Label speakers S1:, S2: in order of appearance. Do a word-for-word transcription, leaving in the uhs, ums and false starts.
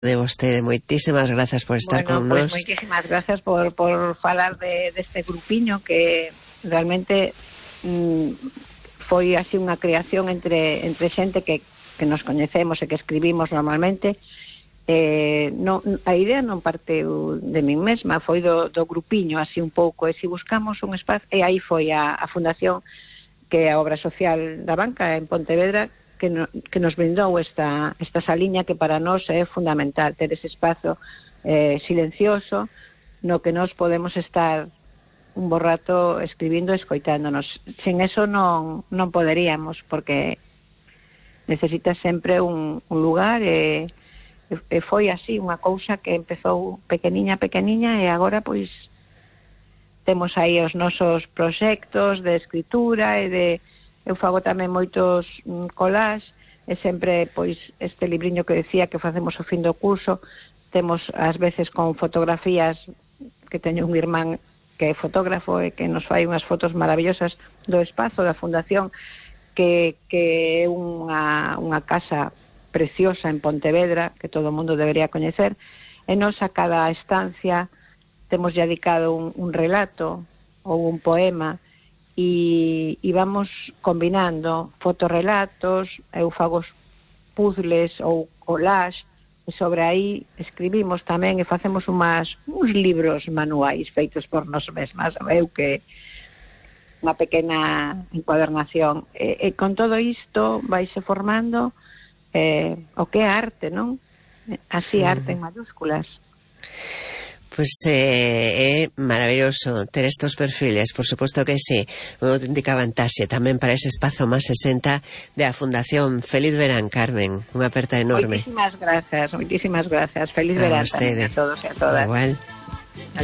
S1: de vostede. Moitísimas grazas por estar
S2: bueno,
S1: con
S2: pues
S1: nos.
S2: Moitísimas grazas por, por falar de, deste grupiño que realmente mm, foi así unha creación entre, entre xente que, que nos coñecemos e que escribimos normalmente. Eh, non, a idea non parteu de min mesma, foi do, do grupiño así un pouco, e se buscamos un espacio, e aí foi a, a fundación, que é a obra social da banca en Pontevedra, que, no, que nos brindou esta, esta saliña que para nós é fundamental, ter ese espazo eh, silencioso no que nós podemos estar un bo rato escribindo e escoitándonos. Sin eso non, non poderíamos, porque necesita sempre un, un lugar e, e foi así unha cousa que empezou pequeniña, pequeniña e agora pois temos aí os nosos proxectos de escritura e de eu fago tamén moitos mm, collages e sempre, pois, este libriño que decía que facemos o fin do curso, temos ás veces con fotografías, que teño un irmán que é fotógrafo e que nos fai unhas fotos maravillosas do espazo da fundación, que, que é unha, unha casa preciosa en Pontevedra, que todo o mundo debería coñecer, e nos a cada estancia temos dedicado un, un relato ou un poema, e, e vamos combinando fotorrelatos, eu fago puzzles ou collage, e sobre aí escribimos tamén e facemos umas, uns libros manuais feitos por nós mesmas, eu que unha pequena encuadernación, e, e con todo isto vaise formando eh, o que é arte, non? Así, arte en mayúsculas.
S1: Pois pues, eh, é maravilloso ter estos perfiles, por suposto que sí, unha auténtica vantaxe tamén para ese espazo máis sesenta da Fundación. Feliz verán, Carmen, unha aperta enorme.
S2: Moitísimas grazas, moitísimas grazas, feliz verán a todos e a todas.
S1: Igual.